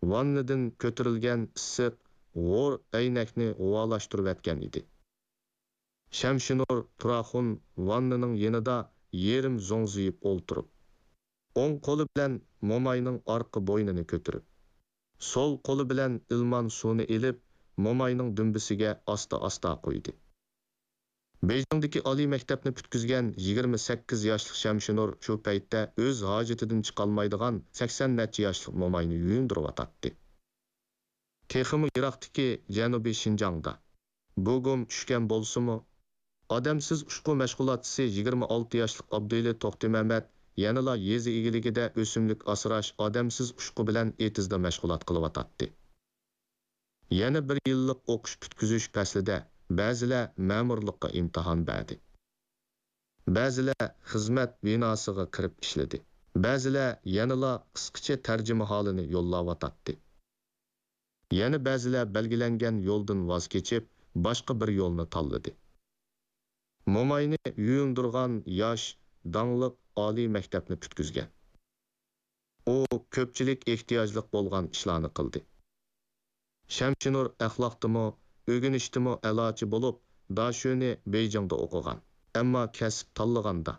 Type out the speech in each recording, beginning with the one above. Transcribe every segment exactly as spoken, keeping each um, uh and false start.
ۋاننىدىن كۆتۈرۈلگەن ئىسسىق، ھور ئەينەكنى غۇۋالاشتۇرۇۋەتكەن ئىدى. شەمشىنۇر تۇراخۇن ۋاننىنىڭ يېنىدا يېرىم زوڭزىيىپ ئولتۇرۇپ، ئوڭ قولى بىلەن موماينىڭ ئارقا بوينىنى كۆتۈرۈپ، سول قولى بىلەن ئىلمان سۇنى ئېلىپ، موماينىڭ دۈمبىسىگە ئاستا-ئاستا قۇيدى. بېيجىڭدىكى ئالىي مەكتەپنى پۈتكۈزگەن يىگىرمە سەككىز ياشلىق شەمشىنۇر شۇ پەيتتە ئۆز ھاجىتىدىن چىقالمايدىغان سەكسەن نەچچە ياشلىق موماينى يۇيۇندۇرۇۋاتاتتى. تېخىمۇ يىراقتىكى جەنۇبىي شىنجاڭدا بۇ گۇم چۈشكەن بولسىمۇ، ئادەمسىز ئۇچقۇ مەشغۇلاتچىسى يىگىرمە ئالتە ياشلىق ئابدۇئېلى توختىمەمەت يەنىلا يېزا ئىگىلىكىدە ئۆسۈملۈك ئاسراش، ئادەمسىز ئۇچقۇ بىلەن ئېتىزدا مەشغۇلات قىلىۋاتاتتى. يەنە بىر يىللىق ئوقۇش پۈتكۈزۈش پەسلىدە بەزىلەر مەمۇرلۇققا ئىمتىھان بەردى. بەزىلەر خىزمەت بىناسىغا كىرىپ ئىشلىدى. بەزىلەر يەنىلا قىسقىچە تەرجىمىھالىنى يوللاۋاتاتتى. يەنە بەزىلەر بەلگىلەنگەن يولدىن ۋاز كېچىپ، باشقا بىر يولنى تاللىدى. موماينى يۇيۇندۇرغان ياش، داڭلىق ئالىي مەكتەپنى پۈتكۈزگەن. ئۇ كۆپچىلىك ئېھتىياجلىق بولغان ئىشلارنى قىلدى. شەمشىنۇر ئەخلاقتىمۇ، ئۆگىنىشتىمۇ ئەلاچى بولۇپ، داشۆنى بېيجىڭدا ئوقۇغان. ئەمما كەسىپ تاللىغاندا،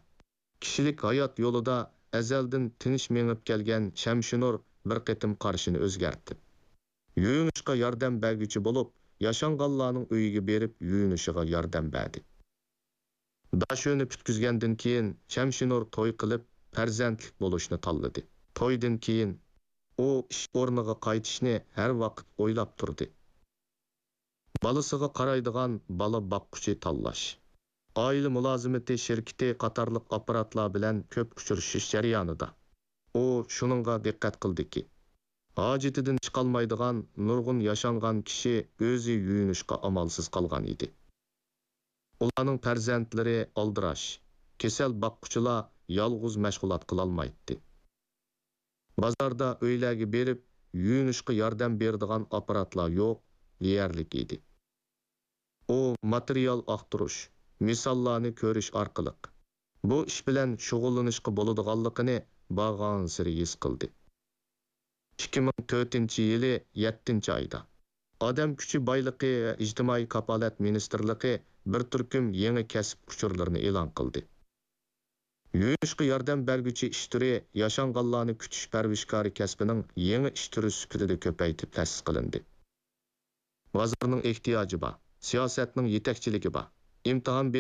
كىشىلىك ھايات يولىدا ئەزەلدىن تىنچ مېڭىپ كەلگەن شەمشىنۇر بىر قېتىم قارىشىنى ئۆزگەرتىپ، يۇيۇنۇشقا ياردەم بەرگۈچى بولۇپ، ياشانغانلارنىڭ ئۆيىگە بېرىپ يۇيۇنۇشىغا ياردەم بەردى. داشۆنى پۈتكۈزگەندىن كېيىن شەمشىنۇر توي قىلىپ، پەرزەنتلىك بولۇشنى تاللىدى. تويدىن كېيىن ئۇ ئىش ئورنىغا قايتىشنى ھەر ۋاقىت ئويلاپ تۇردى. بالىسىغا قارايدىغان بالا باققۇچى تاللاش، ئائىلە مۇلازىمىتى شىركىتى قاتارلىق ئاپپاراتلار بىلەن كۆپ ئۇچرىشىش جەريانىدا، ئۇ شۇنىڭغا دىققەت قىلدىكى، ھاجىتىدىن چىقالمايدىغان نۇرغۇن ياشانغان كىشى ئۆزى يۇيۇنۇشقا ئامالسىز قالغان ئىدى. ئۇلارنىڭ پەرزەنتلىرى ئالدىراش، كېسەل باققۇچىلار يالغۇز مەشغۇلات قىلالمايتتى. بازاردا ئۆيلەرگە بېرىپ يۇيۇنۇشقا ياردەم بېرىدىغان ئاپپاراتلار يوق، دېيەرلىك ئىدى. ئۇ ماتېرىيال ئاختۇرۇش، مىساللارنى كۆرۈش ئارقىلىق بۇ ئىش بىلەن شۇغۇللىنىشقا بولىدىغانلىقىنى بارغانسېرى ھېس قىلدى. ئىككى مىڭ تۆتىنچى يىلى يەتتىنچى ئايدا ئادەم كۈچى بايلىقى ۋە ئىجتىمائىي كاپالەت مىنىستىرلىقى بىر تۈركۈم يېڭى كەسىپ ئۇچۇرلىرىنى ئېلان قىلدى. يۇيۇنۇشقا ياردەم بەرگۈچى ئىش تۈرى ياشانغانلارنى كۈتۈش پەرۋىشكارى كەسپىنىڭ يېڭى ئىش تۈرى سۈپىتىدە كۆپەيتىپ تەسىس قىلىندى. بازارنىڭ ئېھتىياجى بار، سىياسەتنىڭ يېتەكچىلىكى بار، ئىمتىھان